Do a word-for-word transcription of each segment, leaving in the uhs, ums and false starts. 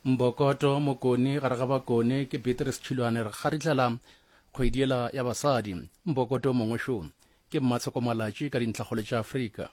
Mbokoto Mokone gare ga Bakone ke Beatrice Tšhilwane re kgaritlhela kgwedi yela ya basadi. Mbokoto mongwe šo ke Mmatsheko Malatši ka dintlhakgolo tša Afrika.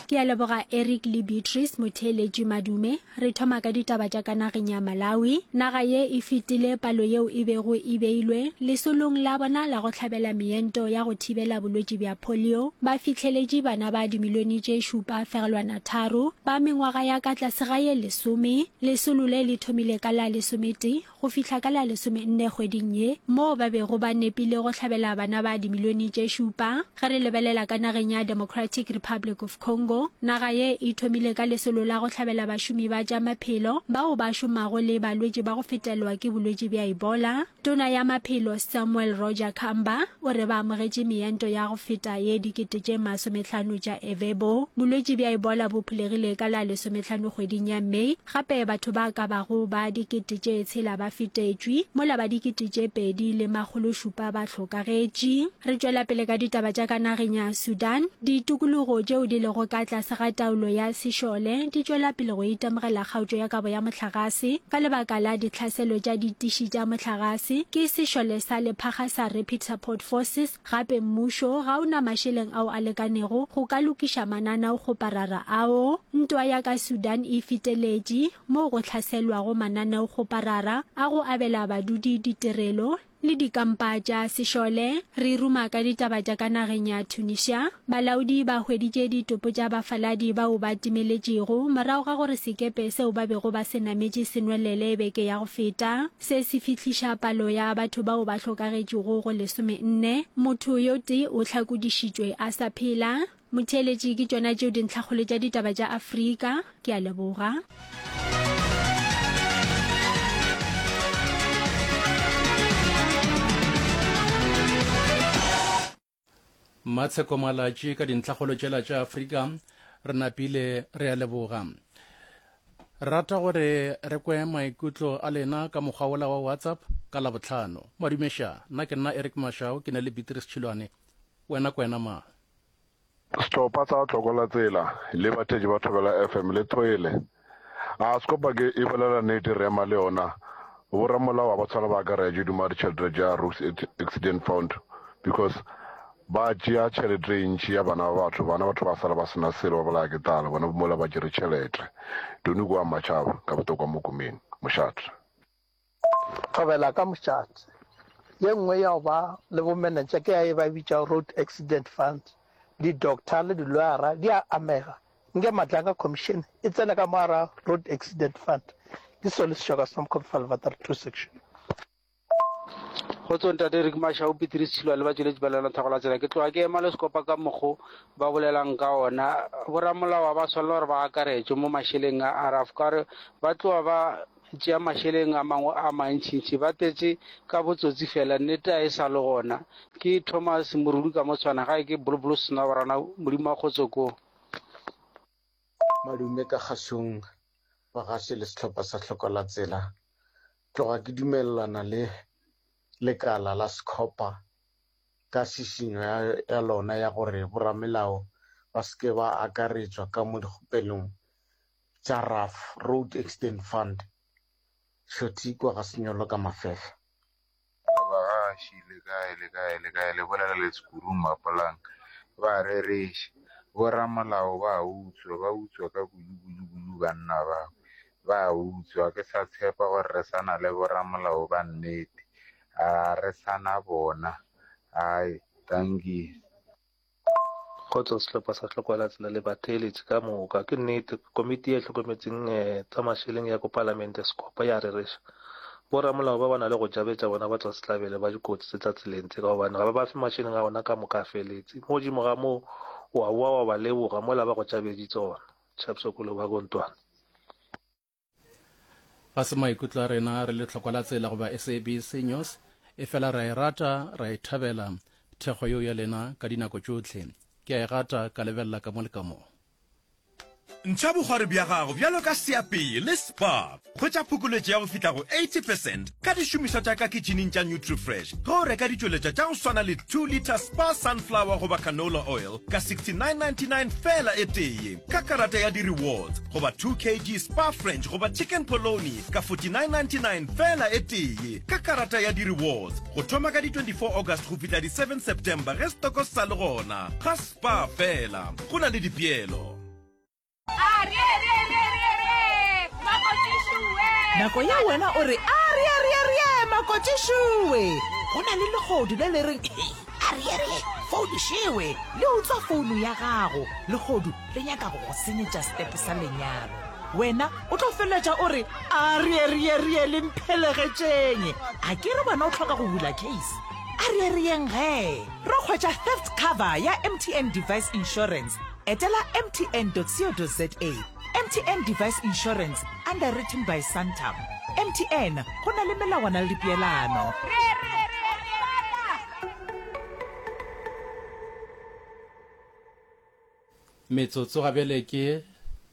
Ke a leboga Eric le Beatrice Motheeletši Madume. Re thoma ka ditaba tša ka nageng ya Malawi. Naga ye e fetile palo yeo e bego e beilwe lesolong la bona la go hlabela meento ya go thibela bolwetši bja polio. Ba fihleletše bana ba dimilione tše šupa fegelwana tharo ba mengwaga ya ka tlase ga ye lesome. Lesolo le le thomile ka la lesometee go fihla ka la lesomenne kgweding ye, moo ba bego ba nepile go hlabela bana ba dimilione tše šupa. Ge re lebelela ka nageng ya Democratic Republic of Congo, naga ye e thomile ka lesolo la go hlabela bašomi ba tša maphelo bao ba šomago le balwetši ba go fetelwa ke bolwetši bja Ebola. Tona ya Maphelo Samuel Roger Kamba o re ba amogetše meento ya go feta ye dikete tše masomehlano tša Ervebo. Bolwetši bja Ebola bo phulegile ka la lesomehlano kgweding ya May, gape batho ba ka bago ba dikete tše tshela ba fetetšwe, mola ba dikete tše pedi le makgolo šupa ba hlokagetše. Re tšwela pele ka ditaba tša ka nageng ya Sudan. Ditokologo tšeo di lego ka tlase ga taolo ya sešole di tšwela pele go itemogela kgaotšo ya kabo ya mohlagase ka lebaka la ditlhaselo tša ditiši tša mohlagase ke sešole sa lephakga sa Rapid Support Forces. Gape mmušo ga o na mašeleng ao a lekanego go ka lokiša mananaokgoparara ao. Ntwa ya ka Sudan e feteletše moo go hlaselwago mananeokgoparara a go abela badudi ditirelo le dikampa tša sešole. Re ruma ka ditaba tša ka nageng ya Tunisia. Balaodi ba hweditše ditopo tša bafaladi bao ba timeletšego morago ga gore sekepe seo ba bego ba se nametše se nwelele beke ya go feta. Se se fihliša palo ya batho bao ba hlokagetšego go lesomenne. Motho yo tee o hlakodišitšwe a sa phela. Motheeletši, ke tšona tšeo dintlhakgolo tša ditaba tša Afrika. Ke a leboga. Mmatsheko Malatši ka dintlhakgolo tšela tša Afrika. Re napile, re a leboga. Re rata gore re kwe maikutlo a lena ka mokgwa wola wa WhatsApp ka Labohlano. Madumeša, nna ke nna Eric Mashau, ke na le Beatrice Tšhilwane. Wena kwena mang? Sehlopha sa Tloko la Tsela le batheetši ba Thobela F M le thwele. A Sekopa ke e bolela nnete re ema le yona. Boramolao ga ba tshwana ba akaretše duma ditšhelete tša Roads Accident Fund because ba tšea tšhelete e ntši ya bana ba batho, bana batho ba sala ba sena selo ba bolaya ke tlala, bona mola ba tšere tšhelete. Tony kwa Matšhaba ka botokwa mo Kumeni. Mošate. Thobela ka mošate. Ye nngwe ya go ba le bomenetša ke ya ye ba e bitšago Road Accident Fund. Di-doctor le di-lawyer di a amega. Nke Madlanga Commission e tsene ka mo gare ga Road Accident Fund. Ke seo le sešoka sa Mokhobi two section. Kgotso ntate Eric Mashau, Petrus Tshilwa le batšweletši ba lena Thago la Tsela. Ke tloga ke ema le sekopa ka mokgo ba bolelang ka ona. Boramolao ba swanela gore ba akaretšwe mo mašeleng a R A F ka gore ba tloga ba tšea mašeleng a mangwe a mantšintši, ba tletše ka botsotsi fela, nnete a e sa le gona. Ke Thomas Morudi ka motshwana gae ke Bolobolo Senaborana, Modimo wa kgotso ko. Madume ka kgašong bagaši le sehlopha sa Hloko la Tsela. Tloga ke dumelelana le lekala la Sekhopa ka šišinyo ya, ya lona ya gore boramelao ba se ke ba akaretšwa ka mo dikgopelong tša R A F, Road Accident Fund. Šothi kwa ga senyolo ka mafefa. Bagaši, le kae, le kae, le kae, le bolela le Sekuru Mapolanka. Ba rereša. Boramolao ba utswa, ba utswa ka kudu, kudu, kudu banna ba. Ba utswa, ke sa tshepa gore re sa na le boramolao ba nnete. A re sa na bona. Ai, thank you. Kgotso sehlopha sa Hloko la Tsela le batheeletši ka moka. Ke nnete, komiti e hlokometseng, eh, tsa mašeleng ya ko palamente Sekopa ya rereša. Boramolao ba ba na le go jabetša bona ba tswa sehlabele ba dikotsi tse tsa tseleng tse ka gobane ga ba ba fe mašeleng a bona ka moka a feletse. Mo godimo ga moo, wa boa wa ba leboga mola ba go tšabeditse ona. Tšhapsokolo ba Gontwane. Ga se maikutlo a rena re le Hloko la Tsela goba S A B C News, e fela ra e rata, ra e thabela thekgo yeo ya lena ka dinako tšohle. Ke a e gata ka lebelela ka mo le ka mo. Ntšha bokgwari bja gago bjalo ka seapei le Spar. Hwetša phokoletšo ya go fihla go eighty percent ka dišomišwa tša ka kitšhining tša Nutrifresh ge o reka ditšweletšwa tša go swana le two litre Spar Sunflower goba Canola Oil ka sixty nine ninety nine feela e tee ka karata ya di-rewards goba two kg Spar French goba Chicken Polony ka forty nine ninety nine feela e tee ka karata ya di-rewards go thoma ka di twenty four August go fihla di seven September ge setoko se sa le gona ga Spar feela go na le dipeelo. Nako ya wena o re, Arieerierie, makotšišowe! Go na le lehodu le le reng, Hei, arierie, founišewe! Le utswa founo ya gago. Lehodu le nyaka go go senyetša setepe sa lenyalo. Wena o tlo feleletša o re, Arierierie, le mphelegetšeng! A ke re wena o hloka go bula case? Arierieng ge! Ro hwetša theft cover ya M T N Device Insurance. Etela mtn.co.za. M T N Device Insurance, underwritten by Santam. M T N, go na le melawana le dipeelano. Metsotso ga bjale ke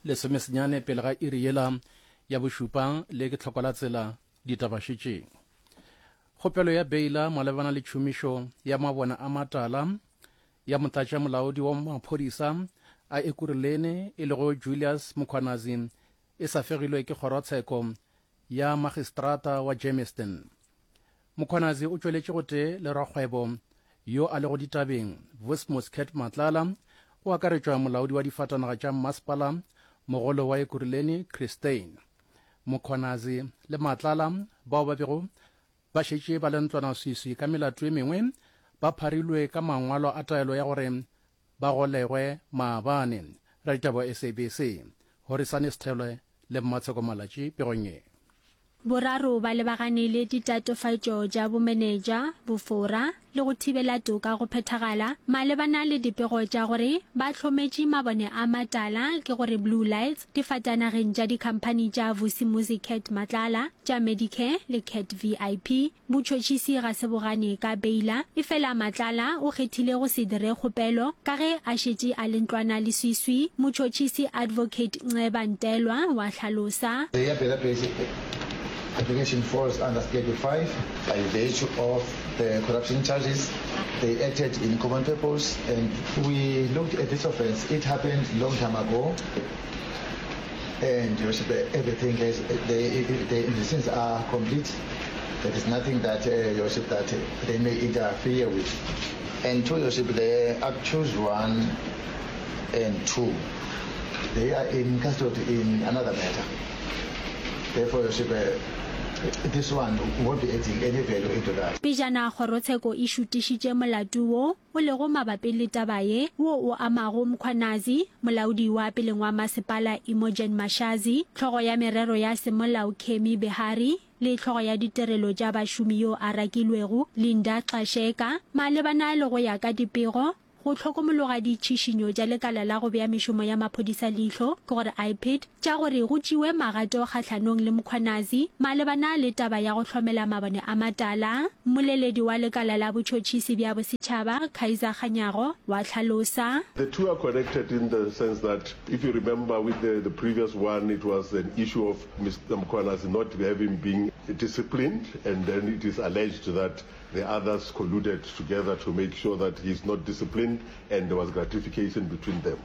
lesomesenyane pele ga iri yela ya bošupa, le ke tlhoko la tsela ditabašetšeng. Kgopelo ya beila malebana le tšhomišo ya mabone a matala ya motlatšamolaodi wa maphodisa a Ekurhuleni e lego Julius Mkhwanazi e sa fegilwe ke kgorotsheko ya magistrata wa Germiston. Mkhwanazi o tšweletše gotee le rakgwebo yo a lego ditabeng Vusmus Cat Matlala, go akaretšwa molaodi wa difatanaga tša mmasepala mogolo wa Ekurhuleni Chris Steyn. Mkhwanazi le Matlala bao ba bego ba šetše ba le ntlwanaswiswi ka melato e mengwe ba pharilwe ka mangwalo a taelo ya gore ba golegwe maabane. Raditaba wa S A B C, Horisane Sethole le Mmatsheko Malatši pegong ye. Boraro ba lebagane le ditatofatšo tša bomenetša, bofora le go thibela toka go phethagala malebana le dipego tša gore ba hlometše mabone a matala, ke gore blue lights, difatanageng tša dikhamphani tša Vusimuzi Cat Matlala, tša Medicare le Cat V I P. Botšhotšhisi ga se bo gane ka beila, efela Matlala o kgethile go se dire kgopelo ka ge a šetše a le ntlwana leswiswi, motšhotšhisi Advocate Nceba Ntelwa wa hlalosa. The bail application falls under Schedule five by virtue of the corruption charges. They acted in common purpose, and we looked at this offense. It happened long time ago, and everything is, the, the investigations are complete. There is nothing that, uh, Your Worship, that they may interfere with. And two, Your Worship, the accused one and two, they are in custody in another matter. Therefore, Your Worship, uh, this one won't be adding any value into that. Pejana kgorotsheko e šutišitše molato wo o lego mabapi le taba ye, wo o amago Mkhwanazi, molaodi wa peleng wa masepala Imogen Mashazi, hlogo ya merero ya semolao Kemi Behari le hlogo ya ditirelo tša bašomi yo a rakilwego Linda Xasheka, malebana le go ya ka dipego go hlokomologa ditšhišinyo tša lekala la go bea mešomo ya maphodisa leihlo, ke gore I P I D, tša gore go tšewe magato kgahlanong le Mkhwanazi malebana le taba ya go hlomela mabone a matala. Mmoleledi wa lekala la botšhotšhisi bja bosetšhaba Kaizer Kganyago wa hlalosa. The two are connected in the sense that if you remember with the, the previous one, it was an issue of Mister Mkhwanazi not having been disciplined, and then it is alleged that the others colluded together to make sure that he's not disciplined, and there was gratification between them.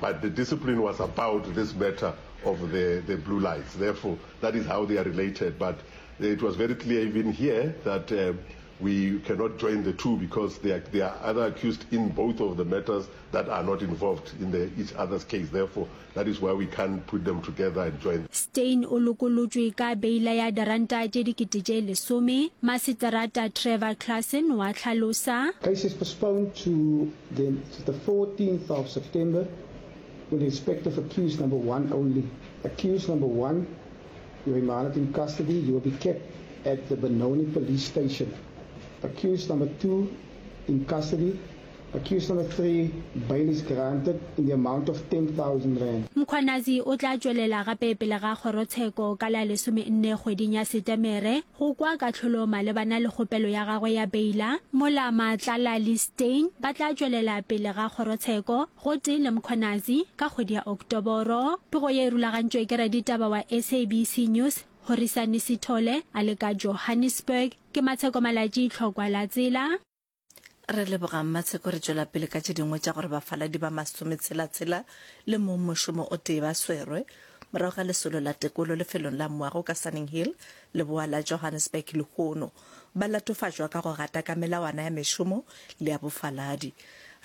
But the discipline was about this matter of the, the blue lights. Therefore, that is how they are related. But it was very clear even here that, uh, we cannot join the two because there are, there are other accused in both of the matters that are not involved in the, each other's case. Therefore, that is why we can't put them together and join. Steyn o lokolotšwe ka beila ya diranta tše dikete tše lesome. Maseterata Trevor Claassen wa hlalosa. Case is postponed to the, to the fourteenth of September with respect of accused number one only. Accused number one, you remanded in custody. You will be kept at the Benoni police station. Accused number two in custody Accused number three, bail is granted in the amount of ten thousand rand. Mkhwanazi o tla tšwelela gape pele ga kgorotsheko ka la lesomenne kgweding ya Setemere go kwa kahlolo malebana le kgopelo ya gagwe ya beila, mola Matlala le Steyn ba tla tšwelela pele ga kgorotsheko gotee le Mkhwanazi ka kgwedi ya Oktoboro. Pego ye e rulagantšwe ke raditaba wa S A B C News, Horisani Sithole, a le ka Johannesburg. Ke Matsheko Malatji, Tlhokwa la Tsela. Re leboga Mmatsheko re tšwela pele ka tše dingwe tša gore bafaladi ba masometshela-tshela le mong mošomo o tee ba swerwe morago ga lesolo la tekolo lefelong la moago ka Sunninghill, leboa la Johannesburg lehono. Ba latofatšwa ka go gata ka melawana ya mešomo le ya bofaladi.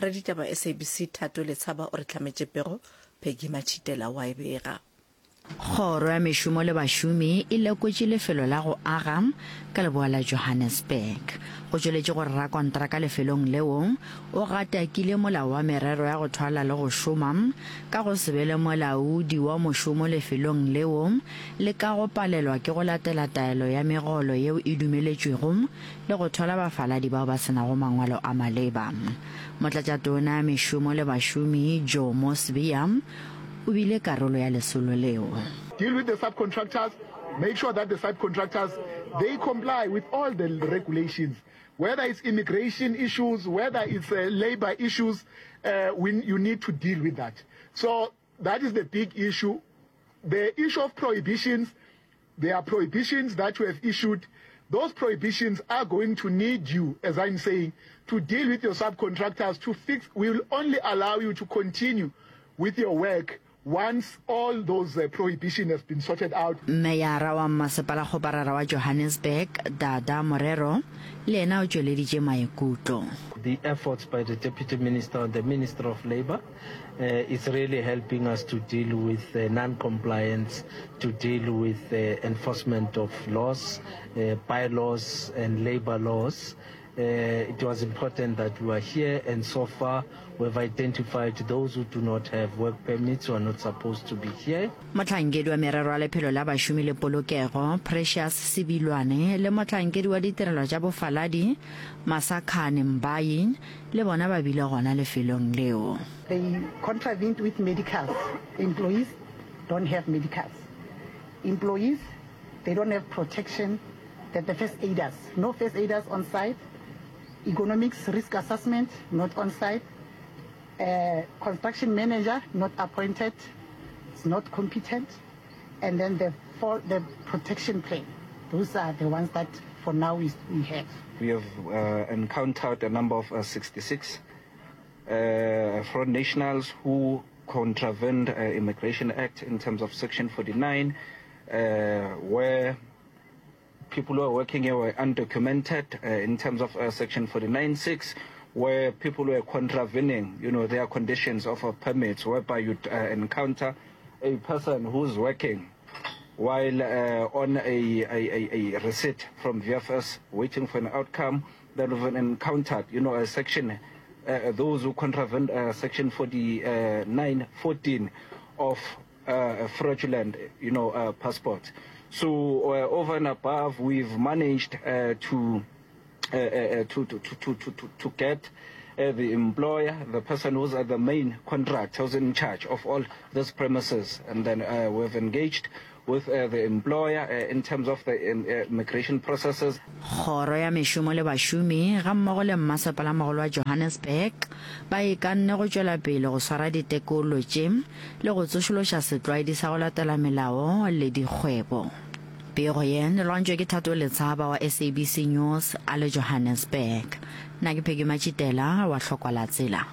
Raditaba S A B C Thato Letshaba o re hlametše pego, Peggy Matšhitela o a e bega. Kgoro ya Mešomo le Bašomi e lekotše lefelo la go aga ka leboa la Johannesburg. Go tšweletše gore rakontraka lefelong leo o gatakile molao wa merero ya go thwala le go šoma ka go se be le molaodi wa mošomo lefelong leo le ka go palelwa ke go latela taelo ya megolo yeo e dumeletšwego le go thwala bafaladi bao ba se nago mangwalo a maleba. Motlatšatona ya Mešomo le Bašomi Jomo Sibiya o bile karolo ya lesolo leo. Deal with the subcontractors, make sure that the subcontractors, they comply with all the regulations, whether it's immigration issues, whether it's, uh, labor issues, uh, we, you need to deal with that. So that is the big issue. The issue of prohibitions, there are prohibitions that we have issued. Those prohibitions are going to need you, as I'm saying, to deal with your subcontractors, to fix. We will only allow you to continue with your work once all those, uh, prohibition has been sorted out. Meyara wa Mmasepalakgoparara wa Johannesburg, Dada Morero, le yena o tšweleditše maikutlo. The efforts by the Deputy Minister and the Minister of Labour, uh, is really helping us to deal with, uh, non-compliance, to deal with, uh, enforcement of laws, uh, bylaws and labor laws. Uh, it was important that we are here, and so far we've identified those who do not have work permits who are not supposed to be here. Mohlankedi wa merero ya lephelo la bašomi le polokego, Precious Sebilwane, le mohlankedi wa ditirelo tša bofaladi, Masakhane Mbayi, le bona ba bile gona lefelong leo. They contravened with medicals. Employees don't have medicals. Employees, they don't have protection. That the first aiders, no first aiders on site. Economics risk assessment, not on site. Uh, construction manager, not appointed, it's not competent. And then the, for the protection plan. Those are the ones that for now we, we have. We have, uh, encountered a number of, uh, sixty-six, uh, foreign nationals who contravened, uh, Immigration Act in terms of Section forty-nine, uh, where people who are working here were undocumented, uh, in terms of, uh, Section forty-nine six, where people were contravening, you know, their conditions of a permits, whereby you'd, uh, encounter a person who's working while, uh, on a, a, a, a receipt from V F S waiting for an outcome. Then we've encountered, you know, a section, uh, those who contravened, uh, Section forty-nine fourteen of, uh, fraudulent, you know, uh, passport. So, uh, over and above, we've managed, uh, to, uh, uh, uh, to, to, to, to, to, to, to get, uh, the employer, the person who's at the main contract, who's in charge of all these premises, and then, uh, we've engaged with, uh, the employer, uh, in terms of the, um, uh, immigration processes. Kgoro ya mešomo le bašomi ga mmogo le mmasepalamogolo wa Johannesburg ba ikanne go tšwela pele go swara ditekolo tše le go tsošološa setlwaedi sa go latela melao le dikgwebo. Pego ye e lwantšwe ke Thato Letshaba wa S A B C News a le Johannesburg. Nna ke Peggy Matšhitela wa Hlokwa la Tsela.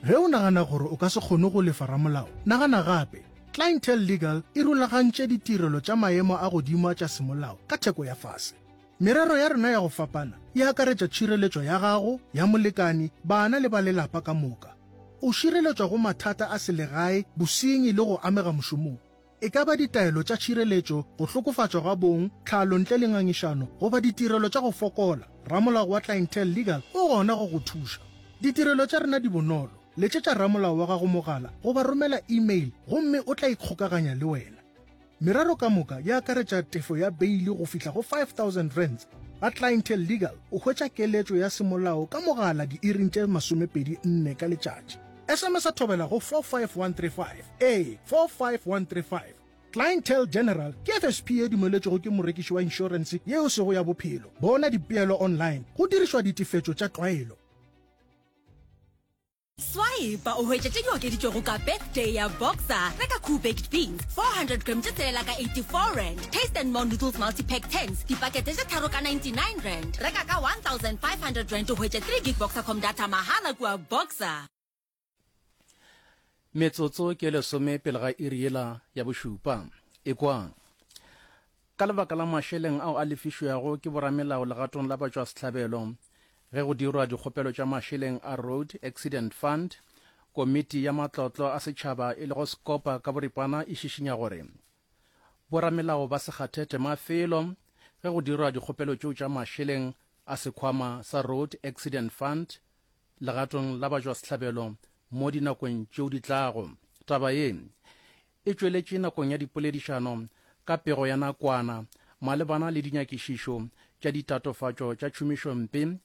Ge o nagana gore o ka se kgone go lefa ramolao, nagana gape. Clientele Legal e rulagantše ditirelo tša maemo a godimo tša semolao ka theko ya fase. Merero ya rena ya go fapana e akaretša tšhireletšo ya gago, ya molekani, bana le ba lelapa ka moka. O šireletšwa go mathata a selegae, bosenyi le go amega mošomong. E ka ba ditaelo tša tšhireletšo, go hlokofatšwa ga bong, tlhalo ntle le ngangišano, goba ditirelo tša go fokola. Ramolao wa Clientele Legal o gona go go thuša. Ditirelo tša rena di bonolo. Letšetša ramolao wa gago mogala goba romela email gomme o tla ikgokaganya le wena. Merero ka moka e akaretša tefo ya beile go fihla go five thousand rands. Ga Clientele Legal o hwetša keletšo ya semolao ka mogala diiring tše masomepedi nne ka letšatši. S M S Thobela go four five one three five, ee, four five one three five. Clientele General ke F S P ye dumeletšwego ke morekiši wa inšorense yeo sego ya bophelo. Bona dipeelo online go dirišwa ditefetšo tša tlwaelo. Swipe o hwetše tše di okeditšwego ka birthday ya Boxer. Reka Koo Baked Beans four hundred gram tše tshelela ka eighty-four rand. Taste and More Noodles Multipack tens dipakete tše tharo ka ninety-nine rand. Reka ka one thousand five hundred rand o hwetše three gig Boxercom data mahala kua Boxer. Metsotso ke lesome pele ga iri yela ya bošupa. Ekwang. Ka lebaka la mašeleng ao a lefišwago ke boramelao legatong la batšwasehlabelo ge go dirwa dikgopelo tša mašeleng a Road Accident Fund, Komiti ya Matlotlo a Setšhaba e lego Scopa ka boripana e šišinya gore boramelao ba se kgathe tema felo ge go dirwa dikgopelo tšeo tša mašeleng a sekhwama sa Road Accident Fund legatong la batšwasehlabelo mo dinakong tšeo di tlago. Taba ye e tšweletše nakong ya dipoledišano ka pego ya nakwana malebana le dinyakišišo tša ditatofatšo tša tšhomišompe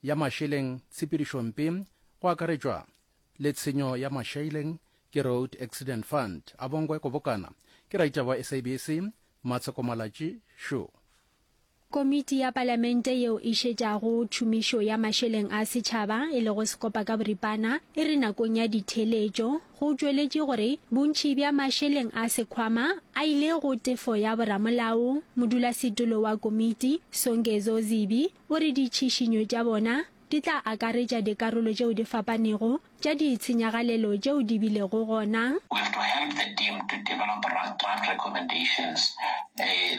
ya mašeleng, tshepedišompe go akaretšwa le tshenyo ya mašeleng ke Road Accident Fund. Abongwe Kobokana ke raitaba wa S A B C, Matsheko Malatši šo. Komiti ya Palamente yeo e šetšago tšhomišo ya mašeleng a setšhaba e lego Sekopa ka boripana e re nakong ya ditheeletšo go tšweletše gore bontši bja mašeleng a sekhwama a ile go tefo ya boramolao. Modulasetulo wa komiti, Songezo Zibi, o re ditšhišinyo tša bona di tla akaretša dikarolo tšeo di fapanego tša ditshenyagalelo tšeo di bilego gona. We have to help the team to develop draft recommendations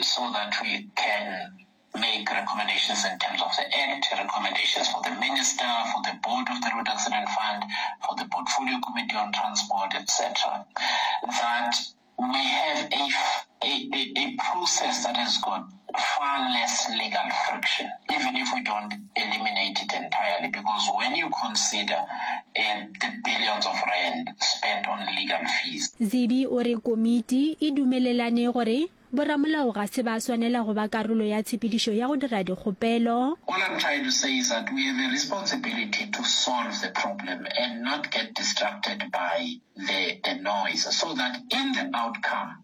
so that we can make recommendations in terms of the act, recommendations for the minister, for the board of the Road Accident Fund, for the Portfolio Committee on Transport, et cetera. That we have a, a, a, a process that has got far less legal friction, even if we don't eliminate it entirely, because when you consider uh, the billions of rand spent on legal fees. Zibi o re komiti e dumelelane gore boramolao ga se ba swanela go ba karolo ya tshepedišo ya go dira dikgopelo. All I'm trying to say is that we have a responsibility to solve the problem and not get distracted by the, the noise, so that in the outcome,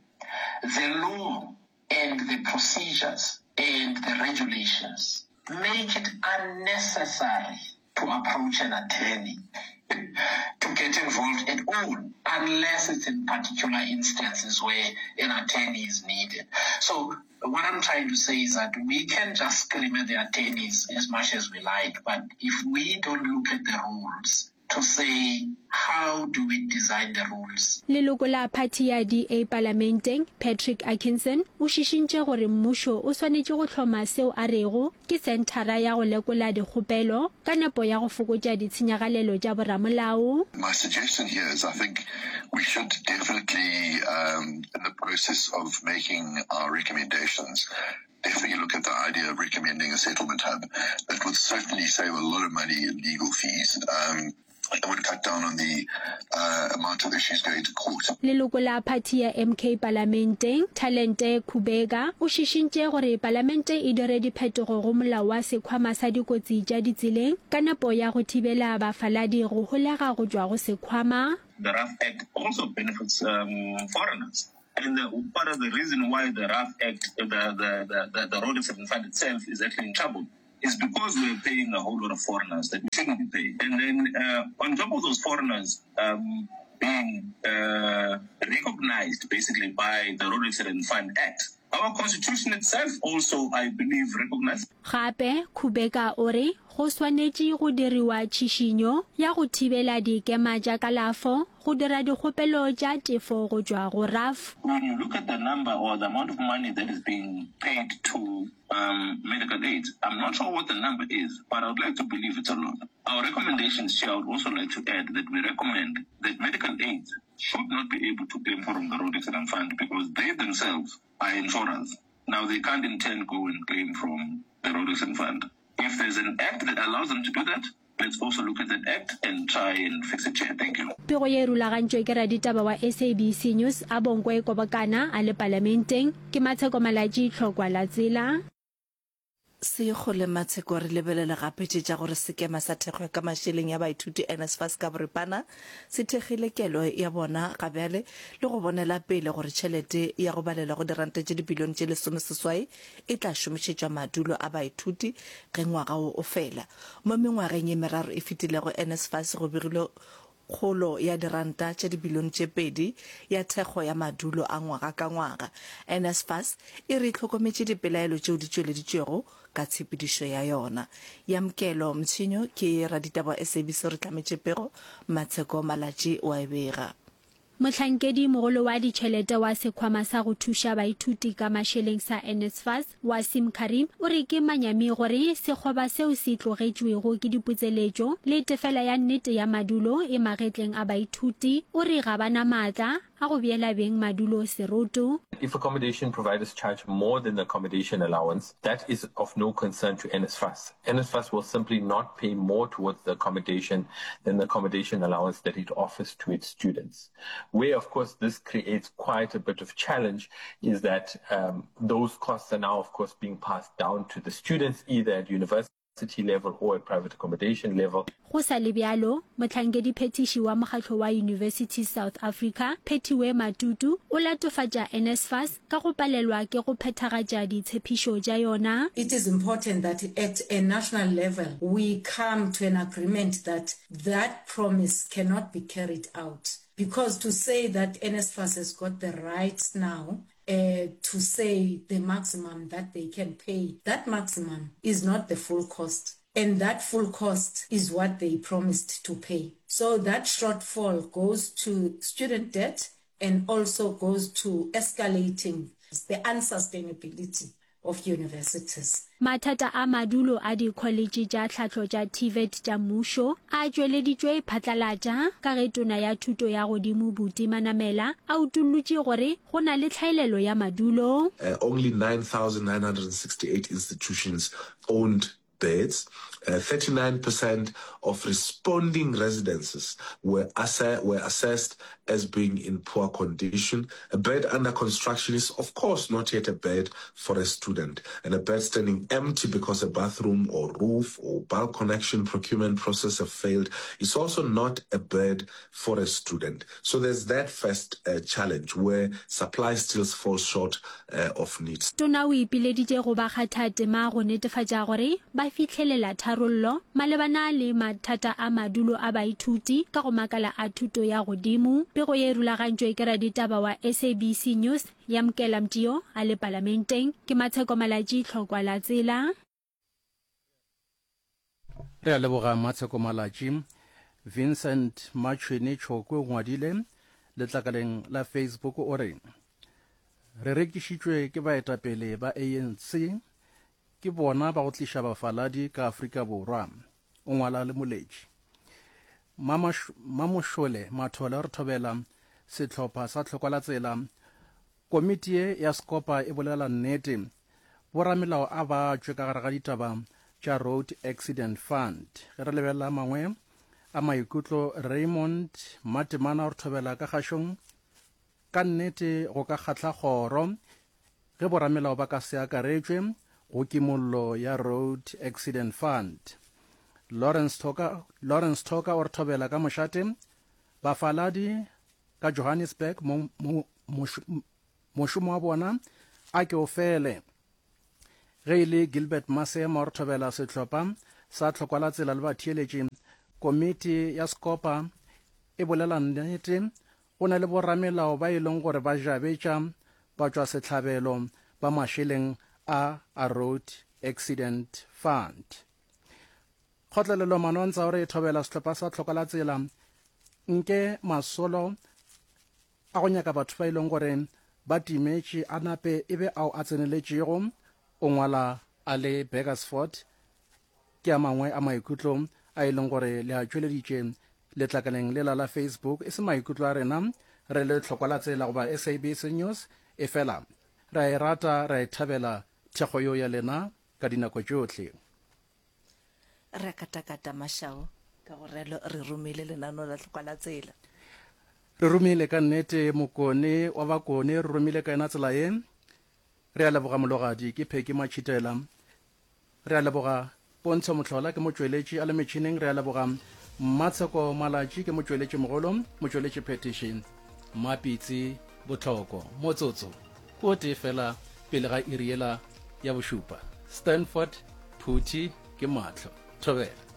the law and the procedures and the regulations make it unnecessary to approach an attorney to get involved at all, unless it's in particular instances where an attorney is needed. So what I'm trying to say is that we can just scream at the attorneys as much as we like, but if we don't look at the rules to say how do we design the rules. Leloko la phathi ya D A palamenteng, Patrick Atkinson, o šišintše gore mmušo o swanetše go hloma seo a rego ke senthara ya go lekola dikgopelo ka nepo ya go fokotša ditshenyagalelo tša boramolao. My suggestion here is I think we should definitely, um, in the process of making our recommendations, definitely look at the idea of recommending a settlement hub. That would certainly save a lot of money in legal fees. Um, it would cut down on the uh, amount of issues going to court. Leloko la phathi ya M K palamenteng, Thalente Kubheka, o šišintše gore palamente e dire diphetogo go molao wa sekhwama sa dikotsi tša ditseleng ka nepo ya go thibela bafaladi go holega go tšwa go sekhwama. The RAF Act also benefits um, foreigners. And the, part of the reason why the RAF Act, the, the, the, the, the Road Accident Fund itself is actually in trouble is because we're paying a whole lot of foreigners that we shouldn't be paying. And then uh, on top of those foreigners um, being uh, recognized basically by the Road Accident Fund Act, our constitution itself also, I believe, recognizes. Gape Kubheka o re go swanetše go diriwa tšhišinyo ya go thibela dikema tša kalafo go dira dikgopelo tša tefo go tšwa go R A F. When you look at the number or the amount of money that is being paid to um, medical aids, I'm not sure what the number is, but I would like to believe it's a lot. Our recommendations here, I would also like to add that we recommend that medical aids should not be able to claim from the Road Accident Fund because they themselves are insurers. Now, they can't in turn go and claim from the Road Accident Fund. If there's an act that allows them to do that, let's also look at that act and try and fix it here. Thank you. Pego ye e rulagantšwe ke raditaba wa S A B C News Abongwe Kobokana a le palamenteng. Ke Matsheko Malatši, Tlhokwa la Tsela. Sekgole Matsheko re lebelele gape tše tša gore sekema sa thekgo ya ka mašeleng ya baithuti NSFAS ka boripana se thekgile kelo ya bona ga bjale le go bonela pele gore tšhelete ya go balelwa go diranta tše dibilione tše lesomeseswai e tla šomišetšwa madulo a baithuti ge ngwaga wo o fela. Mo mengwageng ye meraro e fetilego NSFAS go begilwe kgolo ya diranta tše dibilione tše pedi ya thekgo ya madulo a ngwaga ka ngwaga. NSFAS e re e hlokometše dipelaelo tšeo di tšweleditšwego ka tshepedišo ya yona. Yamkelo Mtshinyo ke raditaba wa S A B C o re hlametše pego, Matsheko Malatji o a e bega. Mohlankedi mogolo wa ditšhelete wa Sekhwama sa go Thuša Baithuti ka Mašeleng sa NSFAS, Waseem Carrim, o re ke manyami gore sekgoba seo se tlogetšwego ke diputseletšo le tefela ya nnete ya madulo e magetleng a baithuti. O re ga ba na maatla a go beela beng madulo seroto. If accommodation providers charge more than the accommodation allowance, that is of no concern to NSFAS. NSFAS will simply not pay more towards the accommodation than the accommodation allowance that it offers to its students. Where, of course, this creates quite a bit of challenge is that, um, those costs are now, of course, being passed down to the students, either at university level or at private accommodation level. Go sa le bjalo, mohlankediphethiši wa mokgatlo wa Universities South Africa, Phethiwe Matutu, o latofatša NSFAS ka go palelwa ke go phethagatša ditshepišo tša yona. It is important that at a national level we come to an agreement that that promise cannot be carried out, because to say that NSFAS has got the right now, uh, to say the maximum that they can pay, that maximum is not the full cost. And that full cost is what they promised to pay. So that shortfall goes to student debt and also goes to escalating the unsustainability of universities. Mathata a madulo a dikholetše tša tlhahlo tša TVET tša mmušo a tšweleditšwe phatlalatša ka ge Tona ya Thuto ya Godimo Buti Manamela a utollotše gore go na le tlhaelelo ya madulo. Uh, only nine thousand nine hundred sixty-eight institutions owned beds. Uh, thirty-nine percent of responding residences were, asse-, were assessed as being in poor condition. A bed under construction is, of course, not yet a bed for a student. And a bed standing empty because a bathroom or roof or bulk connection procurement process have failed is also not a bed for a student. So there's that first, uh, challenge where supply still falls short, uh, of needs. Tona o ipileditše go ba kgathatema go netefatša gore ba fihlelela tharollo malebana le mathata a madulo a baithuti ka go makala a thuto ya godimo. Pego ye e rulagantšwe ke raditaba wa S A B C News Yamkela Mtio a le palamenteng. Ke Matsheko Malatji, Tlhokwa la Tsela. Re a leboga Matsheko Malatji. Vincent Machwene Chokwe o ngwadile letlakaleng la Facebook o re, re rekišitšwe ke baetapele ba A N C, ke bona ba go tliša bafaladi ka Afrika Borwa. O ngwala le moletši. Mamošole Mathole re thobela sehlopha sa Tlhokwa la Tsela. Komiti ye ya Sekopa e bolela nnete. Boramelao a ba tšwe ka gare ga ditaba tša Road Accident Fund. Ge re lebelela mangwe a maikutlo, Raymond Matemana re thobela ka kgašong. Ka nnete go ka kgahla kgoro ge boramelao ba ka se akaretšwe go kimollo ya Road Accident Fund. Lawrence Thoka, Lawrence Thoka o re thobela ka mošate. Bafaladi ka Johannesburg mo, mo, mošomo wa bona a ke o fele. Ge e le Gilbert Masema o re thobela sehlopha sa Tlhokwa la Tsela le batheeletši. Komiti ya Sekopa e bolela nnete, go na le boramelao ba e leng gore ba jabetša ba tšwa sehlabelo ba mašeleng a a Road Accident Fund. Kgotlelelo Manontsha o re thobela sehlopha sa Tlhokwa la Tsela nke masolo a go nyaka batho ba e leng gore ba timetše a nape e be ao a tseneletšego. O ngwala a le Burgersfort. Ke a mangwe a maikutlo a e leng gore le a tšweleditše letlakaleng lela la Facebook. E se maikutlo a rena re le Tlhokwa la Tsela goba S A B C News, e fela re a e rata, re a e thabela thekgo yo ya lena ka dinako tšohle. Re katakata mašao ka go relo re romile lenaneo la Tlhokwa la Tsela. Re romile ka nnete mokone wa bakone, re romile ka yena tsela ye. Re a leboga mologadi ke Pheki Machitela. Re a leboga Pontsho Mohlola ke motšweletši a le metšhineng, re a leboga Mmatsheko Malatši ke motšweletši mogolo, motšweletši phethiši Mmapitsi Botlhoko. Motsotso ke o tee fela pele ga iri yela ya bošupa. Stanford Phuthi ke mahlo. Thobela.